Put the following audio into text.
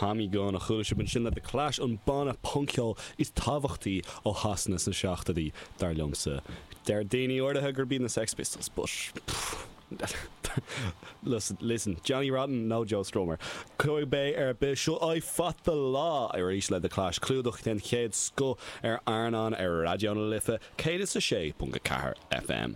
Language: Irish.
Tommy Gun a chuala sibh ansin le The Clash, an banna punc-cheoil is tábhachtaí ó Shasana sna seachtóidí, dar liomsa. Deir daoine áirithe gurb iad na Sex Pistols, but listen, Johnny Rotten nó Joe Strummer. Cibé ar bith, seo I Fought the Law arís le The Clash, clúdach den chéad scoth ar Airneán ar Raidió na Life 106.4 FM.